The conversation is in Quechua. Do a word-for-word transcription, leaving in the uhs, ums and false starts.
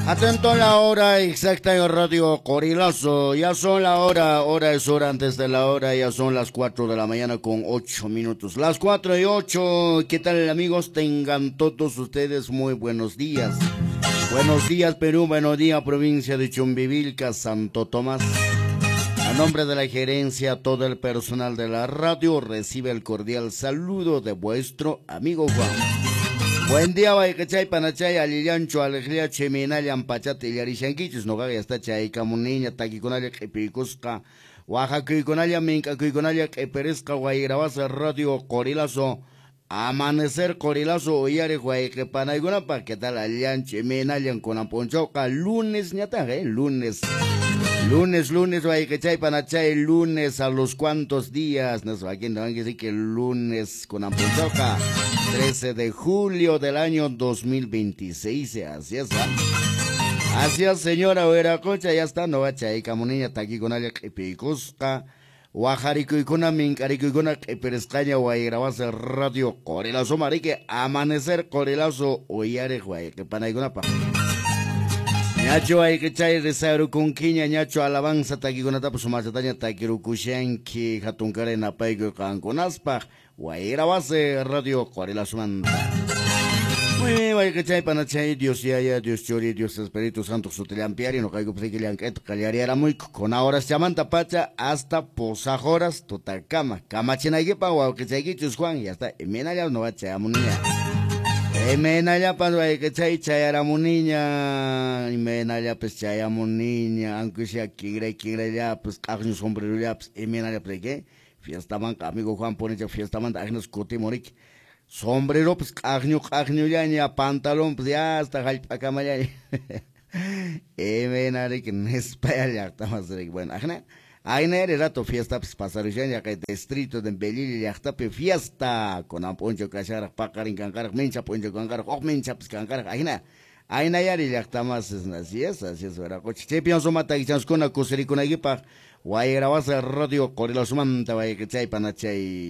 Atento a la hora exacta en Radio Qorilazo. Ya son la hora, hora es hora antes de la hora, ya son las cuatro de la mañana con ocho minutos. Las cuatro y ocho, ¿qué tal amigos? Tengan todos ustedes muy buenos días. Buenos días Perú, buenos días provincia de Chumbivilca, Santo Tomás. A nombre de la gerencia, todo el personal de la radio recibe el cordial saludo de vuestro amigo Juan. Buen día, wayqichay, panachay, allillanchu, alegría, chiminallan, pachata, illarishankichis, noqaqa ya está chaykamuniña, takikunalla q'ipiykusqa, waqakuykunalla, mink'akuykunalla q'ipirisqa, wayrawasa, radio Qorilazo, amanecer Qorilazo, uyariq wayqipanaykunapaq, ¿qué tal allillanchu, imaynallan kunan p'unchawqa? Lunes ñataq, eh, lunes. Lunes, lunes, wayqichay, panachay, lunes a los cuantos días, no sé, aquí no hay que decir que lunes kunan p'unchawqa. trece de julio del año dos mil veintiséis, así es, ¿eh? Así es, señora Huiracocha, ya está, no va chaykamuniña, takikunalla q'ipiykusqa, wajarikuykuna, mink'arikuykuna q'ipirisqaña, wayrawasa radio Qorilazo, marique, amanecer Qorilazo, uyariq wayqipanaykunapaq. Ñachu wayqichay risarukunkiña, ñachu alabanza takikunatapas sumachataña takirukushanki, hatunkaray napaykuy qankunaspaq, wayrawase radio Qorilazomanta. Muy bien, wayqichay panachay, Dios yaya, Dios churi, Dios Espíritu Santo sutillampiari, noqaykupas llank'ayta qallariaramuyku, kuna horas chamanta pacha hasta posaj horas tutakama, kamachinaykipaq wawqichaykichus Juan, ya está, imaynalla no va chayamuniña. Imaynallapas wayqichay chayaramuniña, imaynallapas chayamuniña, aunque sea kinray kinrayllapas, q'aqñu sombrerollapas, imaynallapas ¿qué? Fiestamanqa amigo Juan ponicha fiestamanta ajnas kutimuriki. Sombreropas q'aqñu q'aqñullaña, pantalonpas ya hasta hallp'akamallaña. Imaynariki nispaya llaqtamas riki. Bueno, ajna aynari rato fiestapas pasarushaña kay distrito de Belili llaqtapi fiesta kunan p'unchaw kasharaq paqarin kanqaraq mincha p'unchaw kanqaraq huk minchapas kanqaraq ajna aynayari llaqtamas, así es, así es, wiraqucha. Chaypiwan sumata takichankuna kusirikunaykipaq wayrawasa radio Qorilazomanta wayqichay panachay.